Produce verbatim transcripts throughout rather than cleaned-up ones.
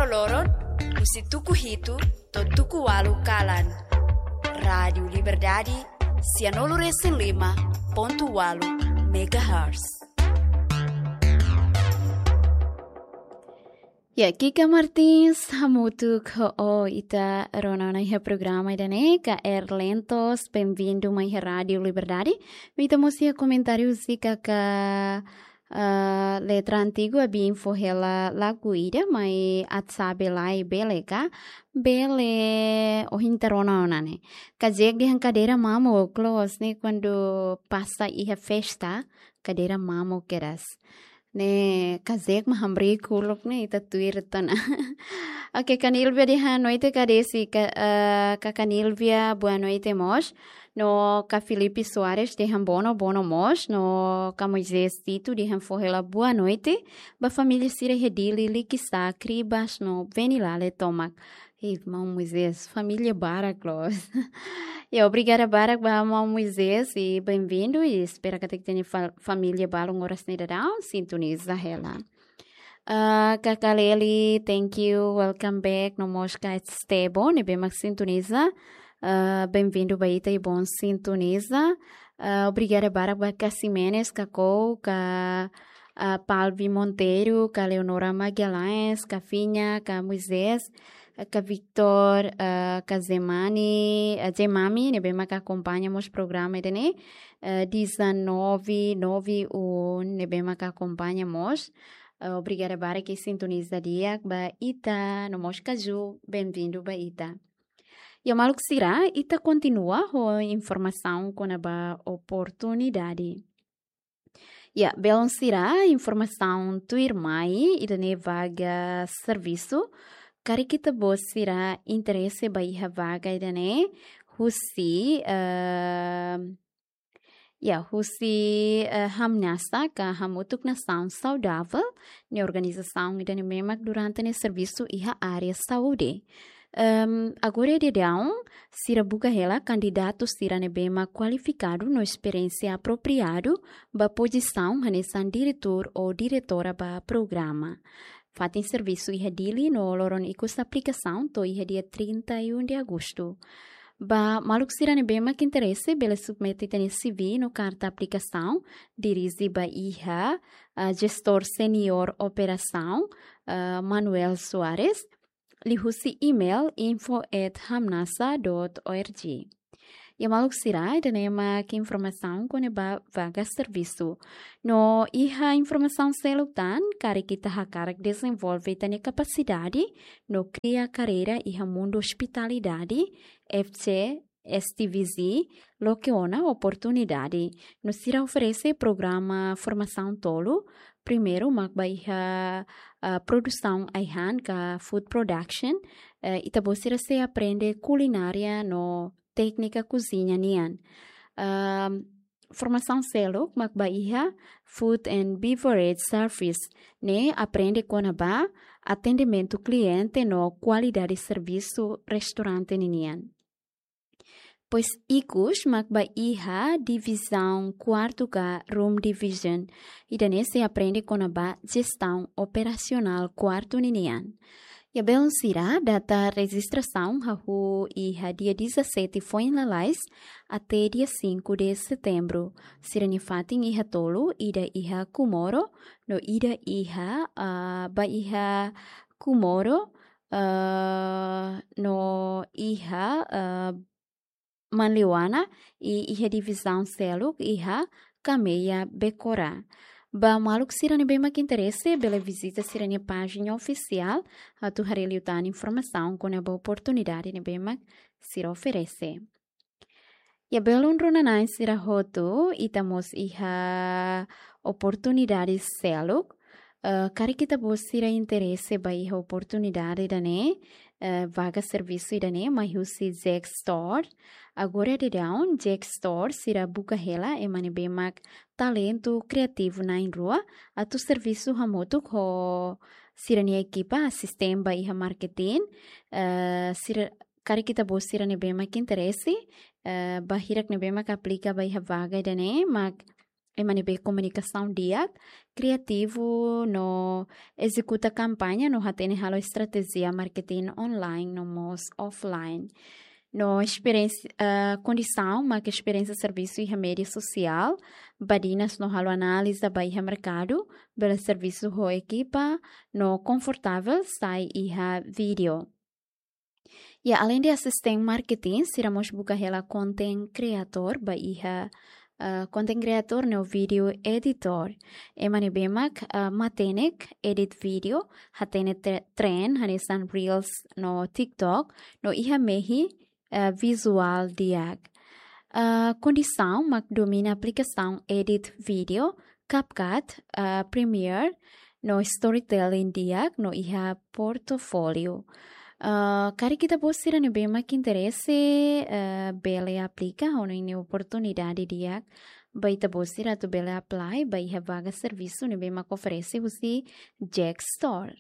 Loron, husi tuku hitu to'o tuku ualu kalan. Rádiu Liberdade, sianulu resin lima pontu ualu megahertz. Ya, Kika Martins, hamutuk ho ita rona ona iha programa ida-ne'e, ka Erlentos, bem-vindo mai iha Rádiu Liberdade. Ita mós iha komentáriu husi kaka, ah, Letra Antigu, Abin fó hela lagu ida, mai atu sabe lai bele ka, bele ohin ita rona ona ne'e. Kazek dehan kadeira mamuk, loos ne'e kuandu pasa iha festa, kadeira mamuk kedas. Ne'e, kazek mak hamriik uluk ne'e, ita tuir tan. Oke, Kanilvia dehan boa noite, Kadesi, ka, eh, ka Kanilvia, boa noite mós. No ka Filipe Soares dehan bono, bono mós. No ka Moisés Tito dehan fó hela boa noite ba família sira iha Dili, Likisá, Cribas, no Venilale tomak. Irmaun Moisés, família barak loos. Ya, obrigada barak ba maun Moisés, i bem-vindo, i espera katak ita-nia fa-, família balun oras ne'e daudaun sintoniza hela. Ah, kaka Leli, thank you, welcome back. No mós ka Estebo, ne'ebé mak sintoniza. Ah, bem-vindo ba ita i bon sintoniza. Ah, obrigada barak ba ka Ximenes, ka Kou, ka, ah, Palvi Monteiro, ka Leonora Magalhães, ka Finha, ka Moisés, ka Victor, ah, ka Zemani, ah, Zemami, ne'ebé mak akompaña mós programa ida-ne'e, ah, dezanove nove um, ne'ebé mak akompaña mós. Ah, obrigada barak ke sintoniza di'ak ba ita, no mós ka Ju, bem-vindo ba ita. Ya maluk sira, ita kontinua ho informasaun kona-ba oportunidade. Ya, belun sira, informasaun tuirmai, ida-ne'e vaga servisu. Karik ita-boot sira interese ba iha vaga ida-ne'e, husi, eh, ya, husi, eh, Hamnasa, ka Hamutuk Nasaun Saudavel, ne'e organizasaun ida-ne'ebé mak durante ne'e servisu iha área saúde. Em, agora daudaun, sira buka hela kandidatu sira ne'ebé mak kualifikadu no esperiénsia apropriadu ba pozisaun hanesan diretór ou diretora ba programa. Fatin servisu iha Dili no loron ikus aplikasaun to'o iha dia trinta e um de agosto. Ba maluk sira ne'ebé mak interese bele submete ita-nia C V no karta aplikasaun, dirije ba iha, ah, Gestór Seniór Operasaun, ah, Manuel Soares, liuhusi email info at hamnasa dot org. Ya maluk sira, ida-ne'e mak informasaun kona-ba vaga servisu. No iha informasaun seluk tan, karik ita hakarak dezenvolve ita-nia kapasidade no kria karreira iha mundu ospitalidade, F C S T V Z loke ona oportunidade. No sira oferese programa formasaun tolu, primeiru mak ba iha, ah, produsaun ai-han ka food production, eh, ita-boot sira sei aprende kulinária no téknika koziña nian. Ahm, formasaun seluk mak ba iha food and beverage service, ne'e aprende kona-ba atendimentu kliente no kualidade servisu restaurante ninian. Depois ikus mak ba iha divizaun kuartu ka room division. Ida-ne'e sei aprende kona-ba jestaun operasionál kuartu ninian. Ya belun sira, data rejistrasaun hahú iha dia dezassete foin lalais até dia cinco de setembro. Sira-nia fatin iha tolu, ida iha Comoro, no ida iha, ah, ba iha Comoro, ah, no iha, ah, Manleuana, i iha divizaun seluk iha Cameia Becora. Ba maluk sira ne'ebé mak interese, bele vizita sira-nia pájina ofisiál, atu haree liután informasaun kona-ba oportunidade ne'ebé mak sira oferese. Ya belun rona-na'in sira hotu, ita mós iha oportunidade seluk. Eh, karik ita-boot sira interese ba iha oportunidade ida-ne'e, eh, vaga servisu ida-ne'e, mai husi Jack Store. Agora daudaun, Jack Store sira buka hela ema ne'ebé mak talentu kriativu na'in-rua, atu servisu hamutuk ho sira-nia ekipa asiste ba iha marketing, eh, sira, karik ita-boot sira ne'ebé mak interese, eh, ba hirak ne'ebé mak aplika ba iha vaga ida-ne'e, mak ema ne'ebé komunikasaun di'ak, kriativu no ezekuta kampaña no hatene halo estratéjia marketing online no mós offline. No esperiénsia, ah, kondisaun mak esperiénsia servisu iha média sosiál, badinas no halo análiza ba iha merkadu, bele servisu ho ekipa, no konfortavel sai iha vídeo. Ya, além de asistente marketing, sira mós buka hela content creator ba iha, ah, content creator no video editor. Ema ne'ebé mak, ah, matenek edit vídeo, hatene tre-, trend, hanesan Reels no TikTok, no iha mehi, ah, vizuál di'ak. Ah, kondisaun mak domina aplikasaun edit vídeo, CapCut, ah, Premiere, no storytelling di'ak, no iha portfólio. Ah, karik ita-boot sira ne'ebé mak interese, ah, bele aplika, hanoin ne'e oportunidade di'ak ba ita-boot sira atu bele apply ba iha vaga servisu ne'ebé mak oferese husi Jack Store.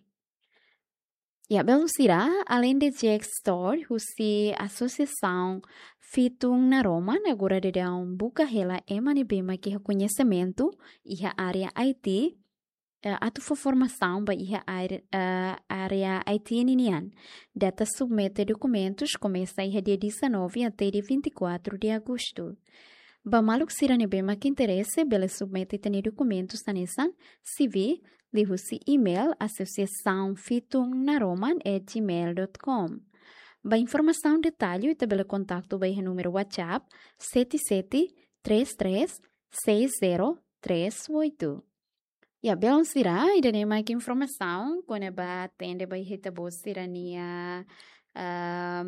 Ya, belun sira, além de Jack Store, husi Asosiasaun Fitun Naroman, agora daudaun buka hela ema ne'ebé mak iha koñesimentu iha área I T, eh, atu fó formasaun ba iha área, eh, área I T ninian. Data submete dokumentus komesa iha dia dezanove até dia vinte e quatro de agosto. Ba maluk sira ne'ebé mak interese, bele submete ita-nia dokumentus hanesan C V, liuhusi email asosiasaun fitun naroman at gmail dot com. Ba informasaun detallu, ita bele kontaktu ba iha númeru WhatsApp sete sete três três seis zero três oito. Ya, belun sira, ida-ne'e mak informasaun kona-ba atende ba iha ita-boot sira-nia, ah,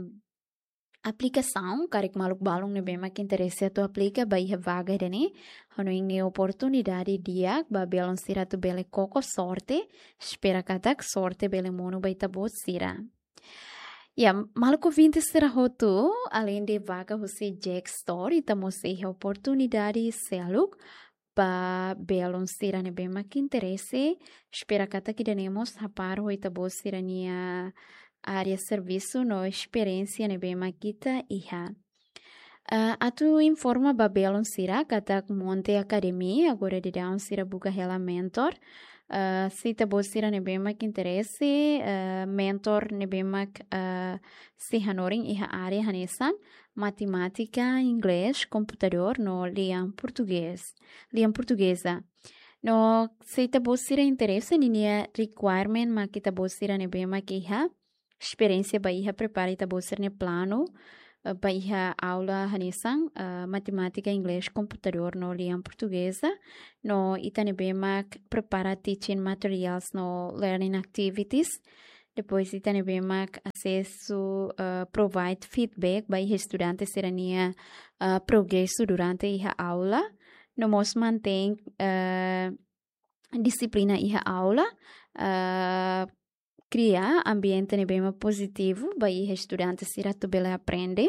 aplikasaun, karik maluk balun ne'ebé mak interese atu aplika ba iha vaga ida-ne'e, hanoin ne'e oportunidade di'ak ba belun sira atu bele koko sorte, espera katak sorte bele monu ba ita-boot sira. Ya, maluk ouvinte sira hotu, além de vaga husi Jack Store, ita mós iha oportunidade seluk ba belun sira ne'ebé mak interese, espera katak ida-ne'e mós hapar ho ita-boot sira-nia área servisu no esperiénsia ne'ebé mak ita iha. Ah, atu informa ba belun sira katak Monte Academy, agora daudaun sira buka hela mentor. Ah, se ita-boot sira ne'ebé mak interese, ah, mentor ne'ebé mak, ah, sei hanorin iha área hanesan matemátika, inglés, komputadór no lian portugés, lian portugeza. No se ita-boot sira interese, ninia requirement mak ita-boot sira ne'ebé mak iha esperiénsia ba iha prepara ita-boot sira-nia planu, eh, ba iha aula hanesan, eh, matemátika, inglés, komputadór no lian portugeza. No ita ne'ebé mak prepara teaching materials no learning activities. Depois ita ne'ebé mak asesu, eh, provide feedback ba iha estudante sira-nia, eh, progresu durante iha aula. No mós mantein, eh, dixiplina iha aula, eh, kria ambiente ne'ebé mak pozitivu ba iha estudante sira atu bele aprende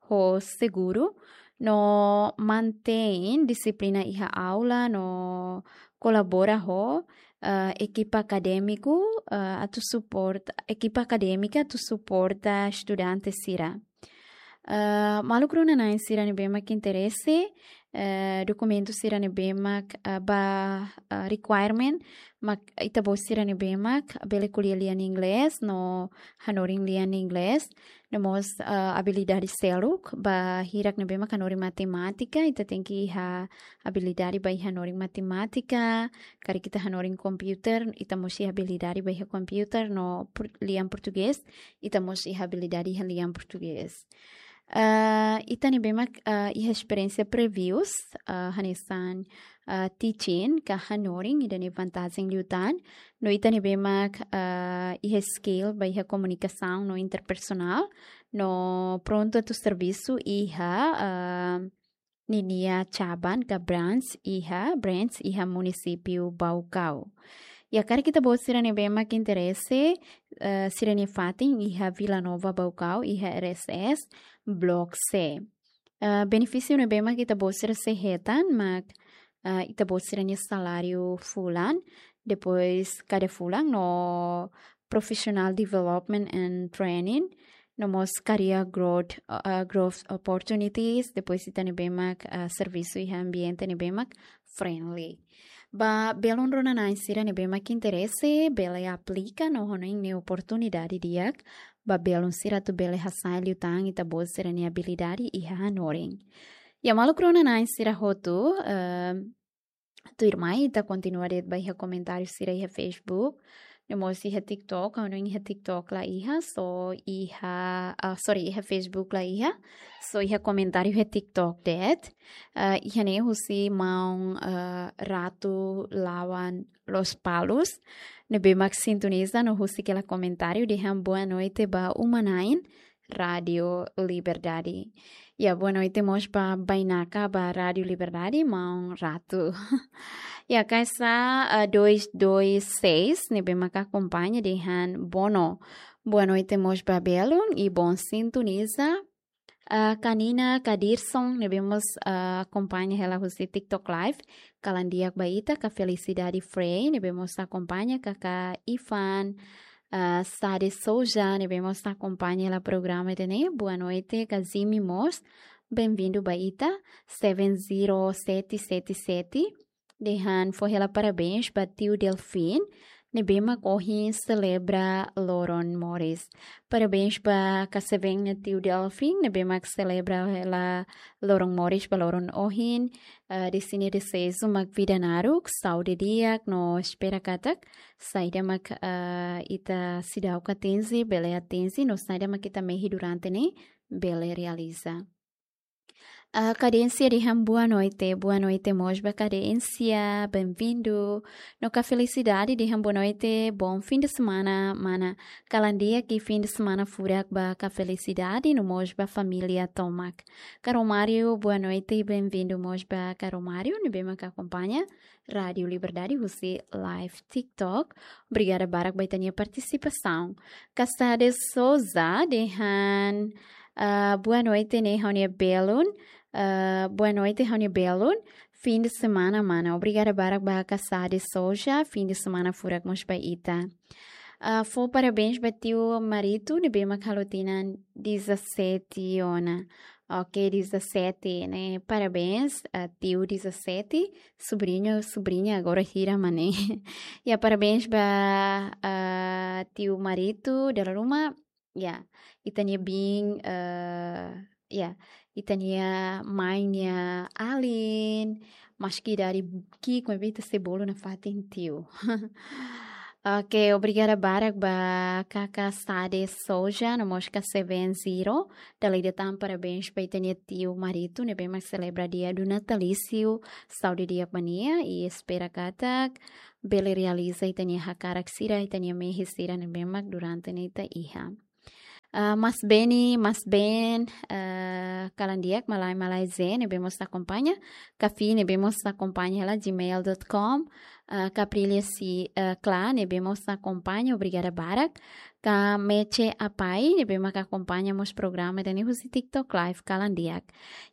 ho seguru, no mantein dixiplina iha aula, no kolabora ho, eh, ekipa akadémiku, eh, atu suporta, ekipa akadémika atu suporta estudante sira. Eh, maluk rona-na'in sira ne'ebé mak interese, eh, dokumentu sira ne'ebé mak, eh, ba, eh, requirement, mak ita-boot sira ne'ebé mak bele ko'alia lian inglés, no hanorin lian inglés, no mós, eh, abilidade seluk, ba hirak ne'ebé mak hanorin matemátika, ita tenke iha abilidade ba iha hanorin matemátika, karik ita hanorin komputer, ita mós iha abilidade ba iha komputer, no por-, lian portugés, ita mós iha abilidade iha lian portugés. Ah, ita ne'ebé mak, ah, iha esperiénsia previous, ah, hanesan, ah, teaching ka hanorin, ida-ne'e vantajen liután. No ita ne'ebé mak, ah, iha skill ba iha komunikasaun no interpersonál, no prontu atu servisu iha, ah, ninia cabang ka branch iha, branch iha munisípiu Baucau. Ya, karik ita-boot sira ne'ebé mak interese, eh, sira-nia fatin iha Vila Nova Baucau, iha R S S, Block C. Eh, benefísiu ne'ebé mak ita-boot sira sei hetan, mak, eh, ita-boot sira-nia saláriu fulan, depois kada fulan no professional development and training, no mós career growth, ah, growth opportunities, depois ita ne'ebé mak, ah, servisu iha ambiente ne'ebé mak friendly. Ba belun rona-na'in sira ne'ebé mak interese, bele aplika no hanoin ne'e oportunidade di'ak ba belun sira atu bele hasa'e liután ita-boot sira-nia abilidade iha hanorin. Ya maluk rona-na'in sira hotu, eh, tuirmai ita kontinua de'it ba iha komentáriu sira iha Facebook, no mós iha TikTok, ha'u hanoin iha TikTok la iha, só iha, ah, sorry, iha Facebook la iha, só iha komentáriu iha TikTok de'it. Ah, iha ne'e husi maun, ah, Ratu Lawan Lospalos, ne'ebé mak sintoniza no husik hela komentáriu dehan boa noite ba uma-na'in Rádio Liberdade. Ya, boa noite mós ba bainaka ba Rádio Liberdade, maun Ratu. Ya, Kaisa, ah, dois dois seis, ne'ebé mak akompaña dehan bono. Boa noite mós ba belun i bon sintoniza. Ah, Kanina Kadirson, ne'ebé mós, ah, akompaña hela husi TikTok Live. Kalan di'ak ba ita, ka Felicidade Frei, ne'ebé mós akompaña, kaka Ivan, ah, Sade Souza, ne'ebé mós akompaña hela programa ida-ne'e. Boa noite, ka Zimi mós. Bem-vindo ba ita, seven zero sete sete sete. Dehan fó hela parabéns ba tiu Delfin, ne'ebé mak ohin selebra loron moris. Parabéns ba Kaseveen nia tiu Delfin, ne'ebé mak selebra hela loron moris ba loron ohin. Ah, dehan nia deseja mak vida naruk, saúde di'ak, no espera katak saida mak, ah, ita seidauk atinje, bele atinje, no saida mak ita mehi durante ne'e, bele realiza. Ah, Kadénsia dehan boa noite, boa noite mós ba Kadénsia, bem-vindo. No ka Felicidade dehan boa noite, bom fim de semana, mana. Kalan di'ak i fim de semana furak ba ka Felicidade, no mós ba família tomak. Ka Romário, boa noite, bem-vindo mós ba ka Romário, ne'ebé mak akompaña Rádio Liberdade husi live TikTok. Obrigada barak ba ita-nia partisipasaun. Ka Sade Souza dehan, ah, boa noite ne'e ha'u-nia belun. Ah, boa noite ha'u-nia belun. Fim de semana, mana. Obrigada barak ba ka Sade Souza. Fim de semana furak mós ba ita. Ah, fó parabéns ba tiu Marito, ne'ebé mak halo tinan dezassete ona. Ok, dezassete, ne'e? Parabéns, ah, tiu dezassete, subriñu, subriña agora hira mak ne'e. Ya, parabéns ba, ah, tiu Marito, dala ruma, ya, ita-nia biin, ah, ya, ita-nia mãe nia alin, maski dari ki'ik maibé ita sei bolu nafatin tiu. Ok, obrigada barak ba kaka Sade Souza, no mós ka Seven Zero. Dala ida tan parabéns ba ita-nia tiu Marito, ne'ebé mak selebra dia do natalício. Saúde di'ak ba nia, i espera katak bele realiza ita-nia hakarak sira, ita-nia mehi sira ne'ebé mak durante ne'e ita iha. Ah, Mas Beni, Mas Ben, ah, kalan di'ak, Malai, Malai Zen, ne'ebé mós akompaña. Kafi, ne'ebé mós akompaña hela gmail dot com. Ah, Caprilia Si, ah, Kla, ne'ebé mós akompaña, obrigada barak. Ka Meche Apai, ne'ebé mak akompaña mós programa ida-ne'e husi TikTok Live, kalan di'ak.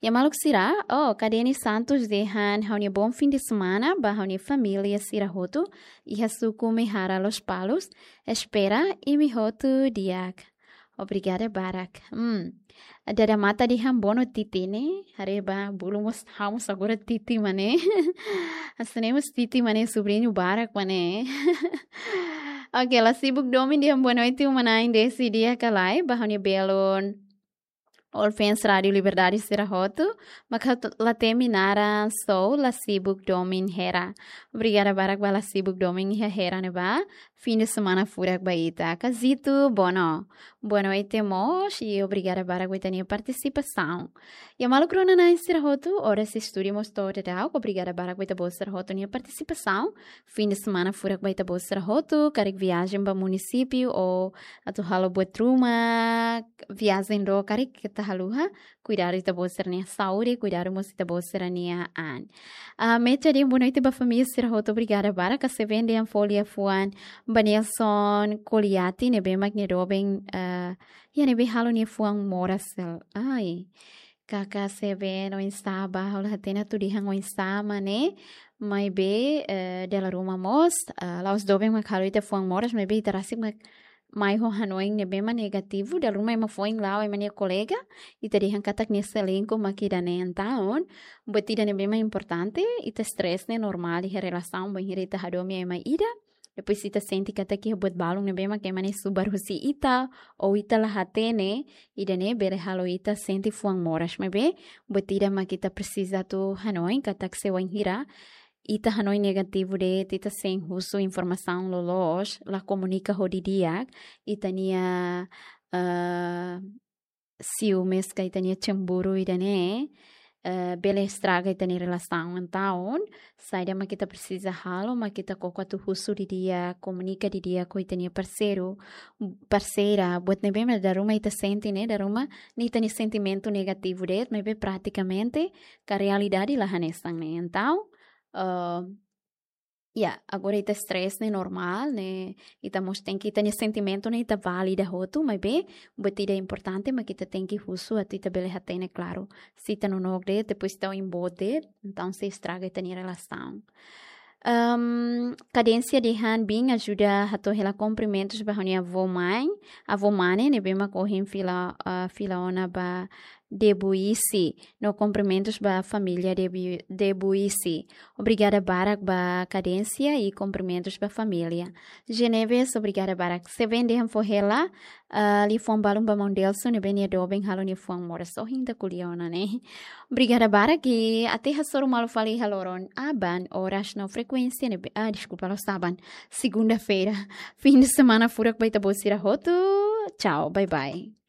Ya maluk sira, oh, Kadeni Santos dehan ha'u-nia bom fim de semana ba ha'u-nia família sira hotu iha suku Mehara Lospalos. Espera imi hotu di'ak. Obrigada barak. Hmm. Dada mata dehan bono titi ne'e, haree ba bulu mós ha'u mós agora titi mak ne'e. Hanesan ne'e mós titi mak ne'e, subriñu barak mak ne'e. Ok, La Sibuk Domin dehan boa noite, uma-na'in, Desi di'ak ka lae, ba ha'u-nia belun. All fans Rádio Liberdade sira hotu, mak ha'u la temi naran, sou La Sibuk Domin Hera. Obrigada barak ba La Sibuk Domin iha Hera ne'ebá. Fim de semana furak ba ita. Kazito Bono, boa noite mós, i obrigada barak ba ita-nia partisipasaun. Ya maluk rona-na'in sira hotu, oras estúdiu mós to'o daudaun, obrigada barak ba ita-boot sira hotu nia partisipasaun. Fim de semana furak ba ita-boot sira hotu, karik viajen ba munisípiu ou atu halo buat ruma, viajen ró karik keta haluha, kuidadu ita-boot sira-nia saúde, kuidadu mós ita-boot sira-nia an. Ah, Mecha dehan boa noite ba família sira hotu, obrigada barak. Ka Seven dehan fó liafuan ba Nelson Koliati, ne'ebé mak nia doben, ah, ya ne'ebé halo nia fuan moras hela. Ai. Kaka Seven, oinsá ba, ha'u la hatene atu dehan oinsá mak ne'e, maibé, eh, dala ruma mós, eh, la'ós doben mak halo ita fuan moras, maibé ita rasik mak mai ho hanoin ne'ebé mak negativu, dala ruma ema foin la'o ema nia kolega, ita dehan katak nia selingkuh mak ida-ne'e. Entaun, buat ida ne'ebé mak importante, ita stress ne'e normál iha relasaun, bainhira ita hadomi ema ida, depois ita sente katak iha buat balun ne'ebé mak ema ne'e subar husi ita, ou ita la hatene, ida-ne'e bele halo ita sente fuan moras. Maibé, buat ida mak ita presiza atu hanoin, katak se wainhira ita hanoin negativu de'it, ita sein husu informasaun loloos, la komunika ho didi'ak, ita-nia, eh, siumes ka ita-nia cemburu ida-ne'e, eh, bele estraga ita-nia relasaun. Entaun, saida mak ita presiza halo, mak ita koko atu husu didi'ak, komunika didi'ak ho ita-nia parseiru, parseira, buat ne'ebé mak dala ruma ita sente ne'e, dala ruma ne'e ita-nia sentimentu negativu de'it, maibé pratikamente, ka realidade la hanesan ne'e. Entaun, eh, ya, agora ita stress ne'e normál, ne'e, ita mós tenke, ita-nia sentimentu ne'e ita valida hotu, maibé, buat ida importante, mak ita tenke husu, atu ita bele hatene klaru. Se ita nonook de'it, depois ita oin boot de'it, entaun sei estraga ita-nia relasaun. Ehm, Kadénsia dehan bin ajuda hato'o hela kumprimentus ba ha'u-nia avó mãe, avó mane, ne'ebé mak ohin fila, ah, fila ona ba Debuissi, no kumprimentus ba família Debu-, Debuissi. Obrigada barak ba Kadénsia i kumprimentus ba família. Geneves, obrigada barak. Se bende han fó hela, ah, liafuan balun ba maun Delso ne'ebé nia doben halo nia fuan moras, ohin ita ko'alia ona ne'e. Obrigada barak i até hasoru malu fali iha loron aban, oras no frekuénsia ne'ebé, ah, deskulpa, loos aban. Segunda-feira. Fim de semana furak ba ita-boot sira hotu. Tchau, bye bye.